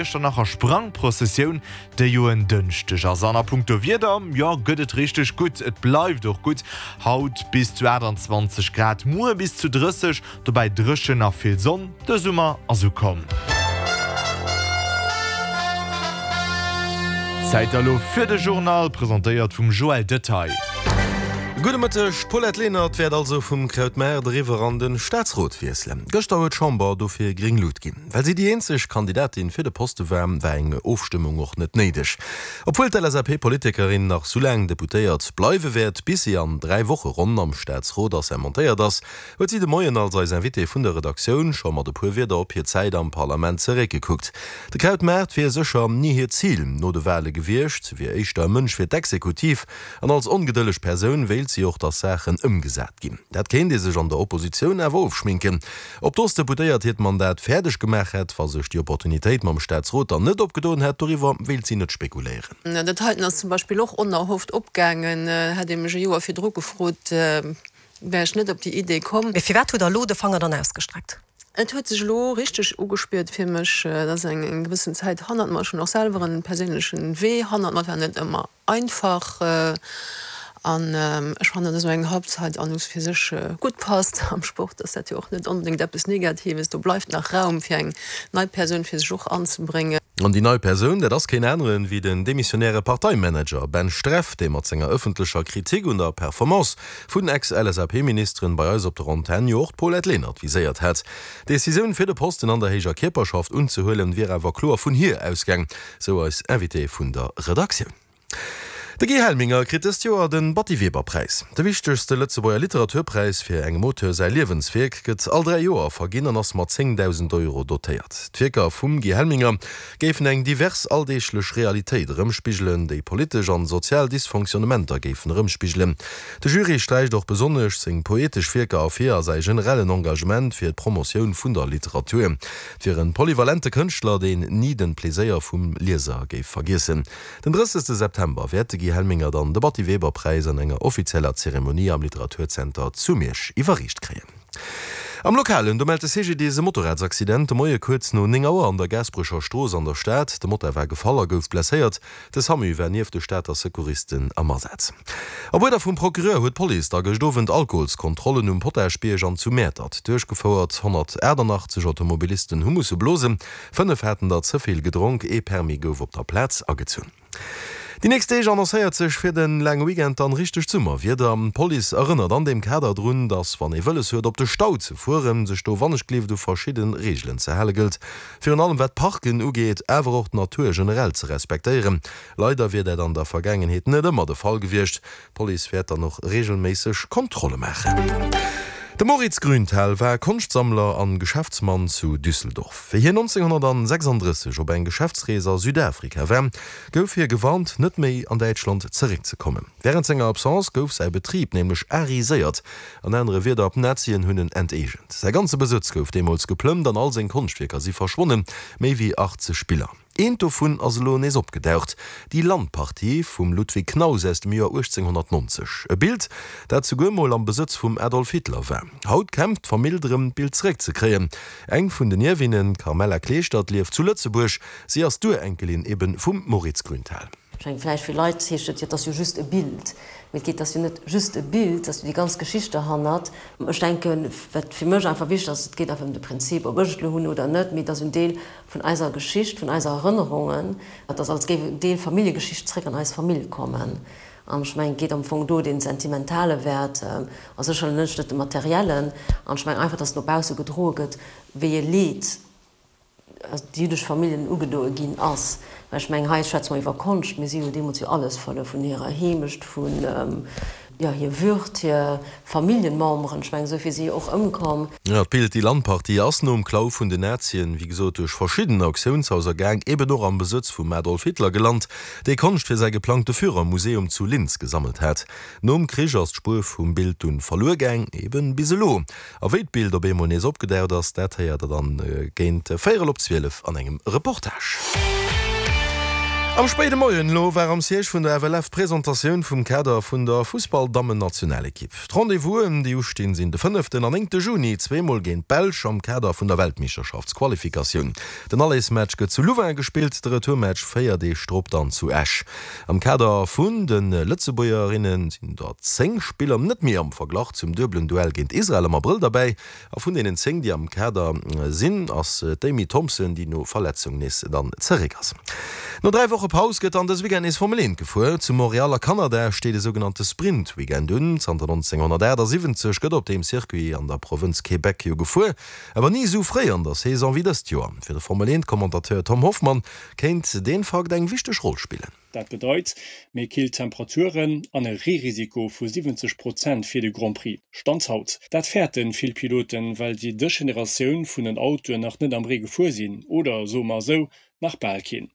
Iechternacher Sprangprozessioun, déi jo en Dënschdeg ass. An a punkto Wieder, jo, gëtt et richteg gutt. Et bleift och gutt, haut bis zu 28 Grad, muer bis zu 30, dobäi dréchen a vill Sonn. De Summer ass ukomm. Zäit elo fir de Journal, presentéiert vum Joël Detaille. Gudde Mëtteg. D'Paulette Lenert wäert also vum Krautmaart eriwwer an de Staatsrot wiesselen. Gëschter huet d'Chamber dofir gréng Lut ginn. Well si déi eenzeg Kandidatin fir de Poste war, war eng Ofstëmmung och net néideg. Obwuel d'LSAP-Politikerin nach soulaang Deputéiert bleiwe wäert, bis si an 3 Woche ronn am Staatsrot assermentéiert ass, huet si de Moien als eis Invitée vun der Redaktioun scho mat e puer Wierder op hir Zäit am Parlament zeréckgekuckt. De Krautmaart wier sécher ni hiert Zil no de Wale gewiescht, si wier éischter e Mënsch fir d'Exekutiv an als ongedëlleg Persoun wéilt si och, datt Saachen ëmgesat ginn. Dat kéint ee sech an der Oppositioun awer ofschminken. Ob d'Ostdeputéiert hiert Mandat fäerdeg gemaach hätt, wa sech déi Opportunitéit mam Staatsrot dann net opgedoen hätt, doriwwer wéilt si net spekuléieren. Dat heiten ass zum Beispill och onerhofft opgaangen. Hätt ee mech e Joer virdru gefrot, wär ech net op déi Idee komm. Mee firwat hutt Der elo de Fanger dann ausgestreckt? Et huet sech elo richteg ugespiert fir mech. Et ass eng gewëssen Zäit hannert mer. Ech hunn och selwer en perséinlechen Wee hannert mer. Et war net ëmmer Einfach, an ech fannen, dass esou eng Halbzeit an u fir sech gutt passt. Am Sport ass dat jo och net onbedéngt eppes Negatives, do bleift nach Raum fir eng nei Persoun fir sech och anzebréngen. An déi nei Persoun, dat ass keen aneren wéi den demissionäre Parteimanager Ben Streff, dee mat senger ëffentlecher Kritik un der Performance vun Ex-LSAP-Ministeren bei eis op der Antenn jo och d'Paulette Lenert viséiert hat. D'Decisioun fir de Posten an der héijer Kierperschaft unzehuelen, wier awer kloer vun hir ausgaang, Sou eis Invitée vun der Redaktioun. De Guy Helminger kritt dëst Joer de Batty Weber Präis. De wichtegste Lëtzebuerger Literaturpräis fir engem Auteur säi Liewenswierk gëtt all 3 Joer verginn an ass mat 10.000 Euro dotéiert. D'Wierker vum Guy Helminger géifen eng divers alldeeglech Realitéit erëmspigelen, déi politesch an sozial Dysfonctionnementer géifen erëmspigelen. De Jury sträicht och besonnesch seng poetesch Wierker ervir a säi generellen Engagement fir d'Promotioun vun der Literatur. Et wier en polyvalente Kënschtler, deen ni den Pleséier vum Lieser géif vergiessen. Den 30 September wäert de Guy Helminger dann de Batty Weber Präis an enger offizieller Zeremonie am Literaturzenter zu Miersch iwwerreecht kréien. Am Lokalen, do mellt de CGDIS e Motorradsaccident de Moie kuerz no 9 Auer an der Gaasperecher Strooss an der Stad. De Motard war gefall a gouf blesséiert. De Samu war nieft de Stater Secouristen am Asaz. Op Uerder vum Procureur huet d'Police da gëscht Owend Alkoholskontrollen um Potaschbierg an zu Mäertert duerchgefouert. 188 Automobilisten hu musse blosen, 5 haten der ze vill gedronk, ee Permis gouf op der Plaz agezunn. Déi nächst Deeg annoncéiert sech fir de laange Weekend dann richtegt Summerwieder. D'Police erënnert an deem Kader drun, dass wann ee wëlles huet op de Stau ze fueren, sech do wannechgleeft u verschidde Reegelen ze hale gëllt. Virun allem wat d'Parken ugeet, awer och d'Natur generell ze respektéieren. Leider wier dat an der Vergaangenheet net ëmmer de Fall gewiescht. D'Police wäert dann och reegelméisseg Kontrolle maachen. De Moritz Grünthal war Konschtsammler an Geschäftsmann zu Düsseldorf. Wéi hien 1936 op eng Geschäftsrees a Südafrika war, gouf hie gewarnt, net méi an Däitschland zeréckzekommen. Wärend senger Absence gouf säi Betrib nämlech ariséiert. An anere Wierder, d'Nazien hunn en enteegent. Säi ganze Besëtz gouf deemools geplëmmt an all seng Konschtwierker si verschwonnen, méi wéi 80 Biller. Eent dovun ass elo nees opgedaucht, déi Landpartie vum Ludwig Knaus aus dem Joer 1890. E Bild, dat souguer mol am Besëtz vum Adolf Hitler war. Haut kämpft d'Famill drëm, d'Bild zeréckzekréien. Eng vun den Ierwinnen, d'Carmela Kleeschtert, lieft zu Lëtzebuerg. Si ass d'Urenkelin ebe vum Moritz Grünthal. Ech mengen, vläicht fir Leit heescht et jo, et ass jo just e Bild. Mee et geet, ass jo net just e Bild, et ass jo déi ganz Geschicht derhannert. Ech denken, wat fir mech einfach wichteg ass, et geet einfach ëm de Prinzip, ob ech et elo hunn oder net, mee et ass en Deel vun eiser Geschicht, vun eiser Erënnerungen. Et ass, als géif en Deel Familljegeschicht zréck an eis Famill kommen. An ech mengen, et geet am Fong do dee sentimentale Wäert a sécherlech net de materiellen. An ech mengen einfach, dass no bausse gedroe gëtt, wéi e Leed déi jüddesch Familljen ugedoe ginn ass. Well ech mengen, hei schwätze mer iwwer Konscht, mee si hu deemools jo alles verluer, vun hirer Heemecht, vun, jo, hir Würd, hir Familljenmemberen. Ech mengen, esou vill si jo och ëmkomm. Jo, d'Bild Die Landpartie ass nom Klau vun den Nazien, wéi gesot, duerch verschidden Auktiounshauser gaang, eben och am Besëtz vum Adolf Hitler gelant, dee Konscht fir säi geplangte Führermuseum zu Linz gesammelt hat. Nom Krich ass d'Spuer vum Bild dunn verluer gaang, eben bis elo. A wéi d'Bild op eemol nees opgedaucht ass, dat héiert der dann géint véierel op 12 an engem Reportage. Am spéide Moien elo war am Siège vun der FLF d'Presentatioun vum Kader vun der Fussball-Dammen-Nationalekipp. D'Rendez-vousen, déi ustinn, sinn de fënneften an néngte Juni, zweemol géint d'Belsch am Kader vun der Weltmeeschterschaftsqualifikatioun. Den Allersmatch gëtt zu Louvain gespillt, de Retourmatch 4 Deeg drop dann zu Esch. Am Kader vun de Lëtzebuergerinne sinn der 10 Spiller net méi am Verglach zum duebelen Duell géint Israel am Abrëll derbäi. A vun deenen 10, déi am Kader sinn, ass d'Amy Thompson, déi no Verletzung nees dann zeréck ass. No 3 Woche Paus gëtt dann dës Weekend nees Formel 1 gefuer. Zu Montréal a Kanada steet e sougenannte Sprint-Weekend un. Zanter 1978 gëtt op deem Circuit an der Provënz Québec jo gefuer, awer ni esou fréi an der Saison wéi dëst Joer. Fir de Formel 1 Commentateur Tom Hoffmann kéint deen Fakt eng wichteg Roll spillen. Dat bedeit méi kill Temperaturen an e Reerisiko vu 70 Prozent fir de Grand Prix, Stand haut. Dat fäerten vill Piloten, well si dës Generatioun vun den Autoen nach net am Ree gefuer sinn, oder soe mer esou, nach bal keen.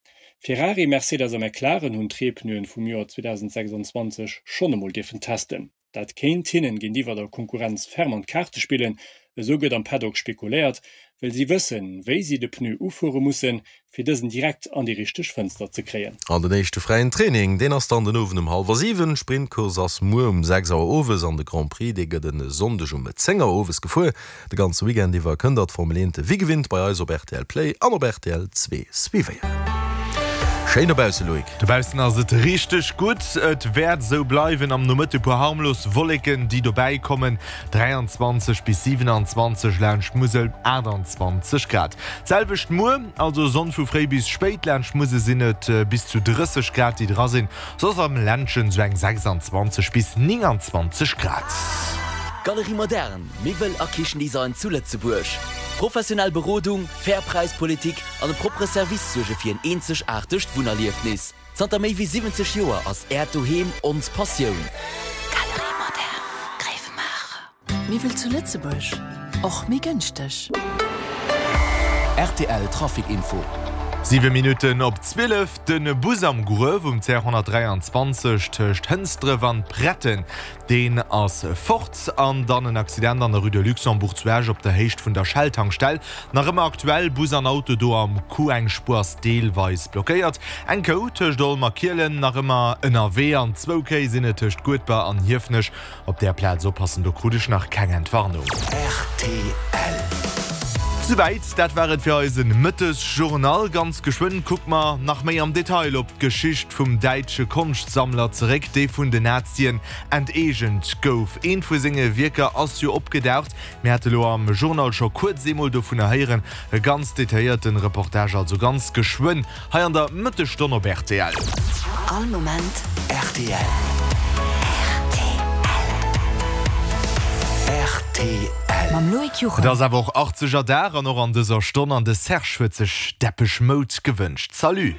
Ferrari, Mercedes a McLaren hunn d'Reepneuen vum Joer 2026 schonn emol dierfen testen. Dat kéint hinnen géintiwwer der Konkurrenz ferm an d'Kaarte spillen, esou gëtt am Paddock spekuléiert, well si wëssen, wéi si de Pneu ufuere mussen, fir dësen direkt an déi richteg Fënster ze kréien. An den éischte fräien Training, deen ass dann den Owend um hallwer 7, d'Sprintcourse ass muer um 6 Auer owes an de Grand Prix, dee gëtt e Sonndeg um 10 Auer owes gefuer. De ganze Weekend iwwer kënnt der d'Formel 1 wéi gewinnt bei eis op rtl Play an op rtl 2 suivéieren. Schéin dobausse Loïc. Dobaussen ass et richteg gutt. Et wäert esou bleiwen. Am Nomëtte puer harmlos Wolleken, déi dobäi kommen, 23 bis 27, laanscht d'Musel 28 Grad. D'selwecht muer, also Sonn vu fréi bis spéit, laanscht d'Musel sinn et bis zu 30 Grad, déi dra sinn. Soss am Ländchen sou eng 26 bis 29 Grad. Galerie Moderne, Miwwel a Kichendesign zu Lëtzebuerg. Professionell Berodung, fair Präispolitik an e proppere Service suerge fir en eenzegaartegt Wunnerliefnis. Zanter méi wéi 70 Joer ass Äert Doheem ons Passioun. Galerie Moderne, Gréiwemaacher. Miwwel zu Lëtzebuerg, och méi gënschteg. Rtl Trafic Info. 7 Minutten op 12, De Bus am Gruef um CR 123 tëscht Hënsdref an Pretten, deen ass fort. An dann en Accident an der Rue de Luxembourg zu Esch op der Héicht vun der Shell-Tankstell. Nach ëmmer aktuell, Bus an Auto do am Coup, eng Spuer ass deelweis blockéiert. Eng Kou tëscht Olm a Kielen nach ëmmer ënnerwee an zwou Kéi sinn et tëscht Guedber an Hiefenech. Op där Plaz oppassen, do krut ech nach keng Entwarnung. Rtl. Souwäit, dat war et fir eise Mëttesjournal. Ganz geschwënn kucke mer nach méi am Detail op d'Geschicht vum däitsche Konschtsammler zeréck, dee vun den Nazien enteegent gouf. Eent vu senge Wierker ass jo opgedaucht. Mir hate lo am Journal scho kuerz eemol dovunner héieren. E ganz detailléierten Reportage also ganz geschwënn hei an der Mëttesstonn op rtl. All Moment rtl. Rtl. Mam Loïc Et Juchem. ass awer och 80er Dag an och an dëser Stonn an de Serge huet sech Depeche Mode gewënscht. Salut!